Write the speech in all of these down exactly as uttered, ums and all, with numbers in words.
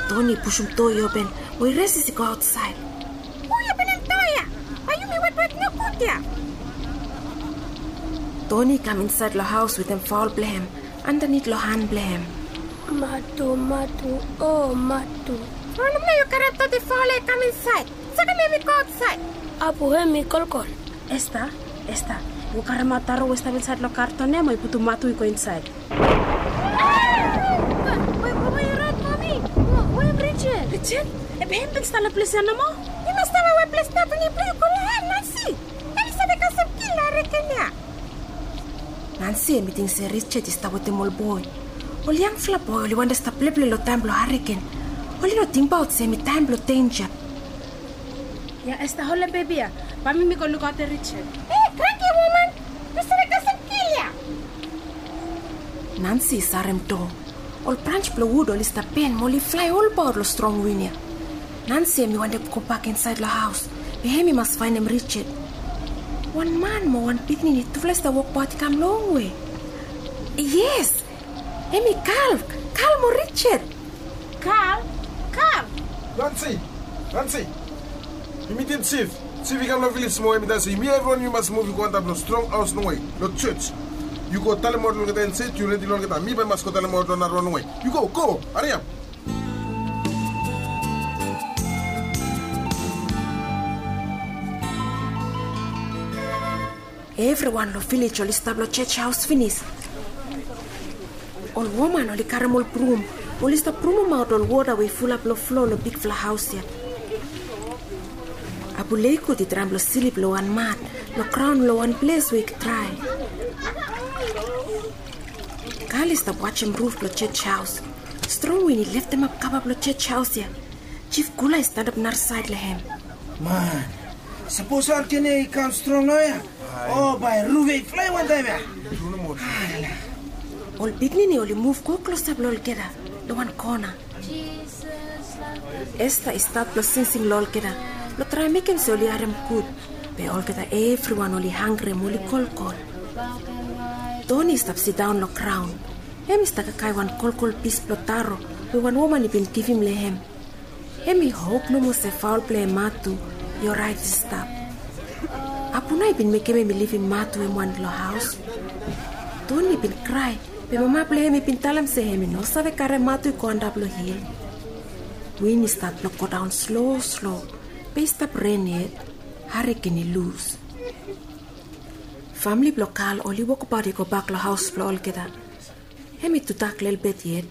Toni i pushum doa i open, mo i resis i go aotsaed. Hu i openem doa ya? Bae yumi wetwet nogud ya. Toni i kam insaed long haos wetem faol blong hem andanit long han blong hem. Matu, matu, o matu. Wanem nao yu karem doti faol ya i kam insaed? Sakem hem i go aotsaed. Abu, hem i kolkol. Esta, Esta, yu karemaot taro we i stap insaed long karton ya mo yu putum matu i go insaed. Bae mama i rait, mami. Mama, we hem Richard? Richard? Be hem i bin stap long ples ya nomo. Yu mas stap long we ples Bethany blong yu go long hem, Nancy. Hem i save kasem kil long hariken ya. Nancy hem i ting se Richard i stap wetem ol boe. Ol yangfala boe oli wantem stap pleple long taem blong hariken. Oli no tingbaot se hem i taem blong denja. Ya, Esta, holem bebi ya. Bae mi mi go lukaotem Richard. E, kranki woman. Yu save kasem kil ya. Nancy i sarem doa. Ol brans blong wud oli stap ben mo oli flae olbaot long strong win ya. Nancy hem i wantem gobak insaed long haos, be hem i mas faenem Richard. Wan man mo wan pikinini tufala i stap wokbaot i kam longwe. Yes, hem i Carl, Carl mo Richard. Carl, Carl. Nancy, Nancy. Yu mitim Chief. Chief i kam long vilej mo hem i talem se yumi evriwan yumi mas muv i go antap long strong haos longwe, long jos. Yu go talemaot long olgeta insaed yu redi long olgeta. Mi bae mi mas go talemaot long narawan longwe. Yu go, go, hariap. Evriwan long vilej oli stap long jos haos finis. Ol woman oli karem ol brum, oli stap brumaot ol wota we i fulap long flo long bigfala haos ya. Abu Leikut i traem blong slip long wan mat long graon long wan ples we i drae. Kal i stap wajem ruf blong jos haos. Strong win i leftemap kava blong jos haos ya. Chief Kula i stanap narasaed long hem. Man, sapos hariken ya i kam strong naoia, o bae ruf ya i flae wantaem ya. Ol pikinini oli muv go klosap long olgeta long wan kona. Esta i stat blong singsing long olgeta blong traem mekem se oli harem gud. Be olgeta evriwan oli hangrem oli kolkol. Toni i stap sidaon long graon. Hem i stap kakae wan kolkol pis blong taro we wan woman i bin givim long hem. Hem i hop nomo se faol blong hem Matu i oraet i stap. Abu nao i bin mekem hem i livim Matu hem wan long haos. Toni i bin krae, be mama blong hem i bin talem se hem i no save karem Matu i go antap long hil. Win i stat blong godaon slo slo, be i stap ren yet. Hariken i lus. Famle blong Kal oli wokbaot i gobak long haos blong olgeta. Hem i tudak lelebet yet.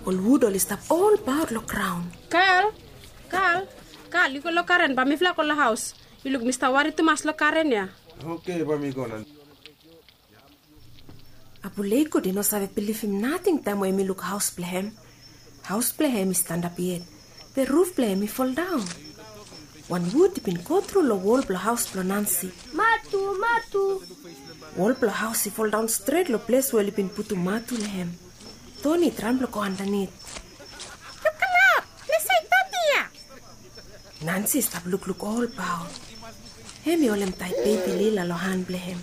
Ol wud oli stap olbaot long graon. Kal, Kal, Kal, yu go long garen, bae mifala go long haos. Yu luk mi stap wari tumas long garen ya. Oke, bae mi go nao. Abu Leikut i no save bilivim nating taem we hem i luk haos blong hem. Haos blong hem i stanap yet, be ruf blong hem i foldaon. Wan wud i bin gotru long wol blong haos blong Nancy. Matu, Matu. Wol blong haos i foldaon stret long ples we oli bin putum Matu long hem. Toni i traem blong go andanit. Lukaot, ples ya i doti ya. Nancy i stap lukluk olbaot. Hem i holem taet bebi Lila long han blong hem.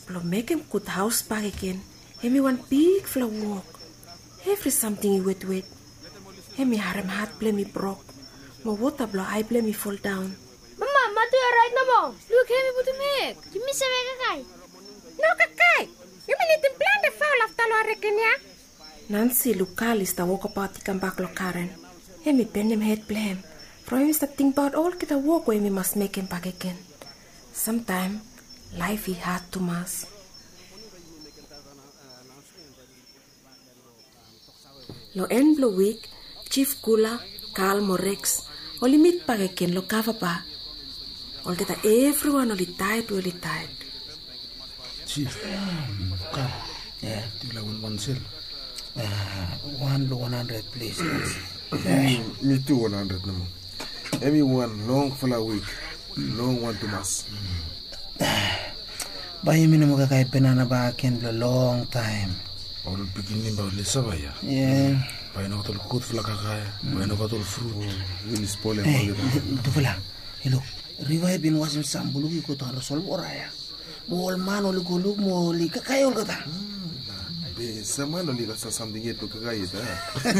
Blong mekem gud haos bakegen, hem i wan bigfala wok. Evri samting i wetwet. Hem i harem hat blong hem i brok, mo wota blong ae blong hem i foldaon. Mama, Matu i oraet nomo. Luk, hem i putum hek. Yumi save kakae. No kakae. Yumi nidim plante faol afta long hariken ya. Nancy i luk Kal i stap wokbaot i kambak long garen. Hem i benem hed blong hem from hem i stap tingbaot olgeta wok we hem i mas mekem bakegen. Samtaem laef i had tumas. Long en blong wik, Jif Kula, Kal mo Reks oli mit bakegen long kava ba. Olgeta evriwan oli taet we oli taet. Jif, Kal, yufala win wan sel? Wan long wan handred ples. Mi tu wan handred nomo. Hemi wan longfala wik. Long wan tumas. Bae yumi no moa kakae banana bakegen blong longtaem. Ol pikinini bae oli sava ya. Bae i nogat ol gudfala kakae, bae i nogat ol frut. Yumi spolem olgeta. Tufala, yu luk, riva i bin wasem sam buluk i go daon long solwota ya. Mo ol man oli go luk mo oli kakae olgeta. Be sam man oli gat sam samting yet blong kakae yet a?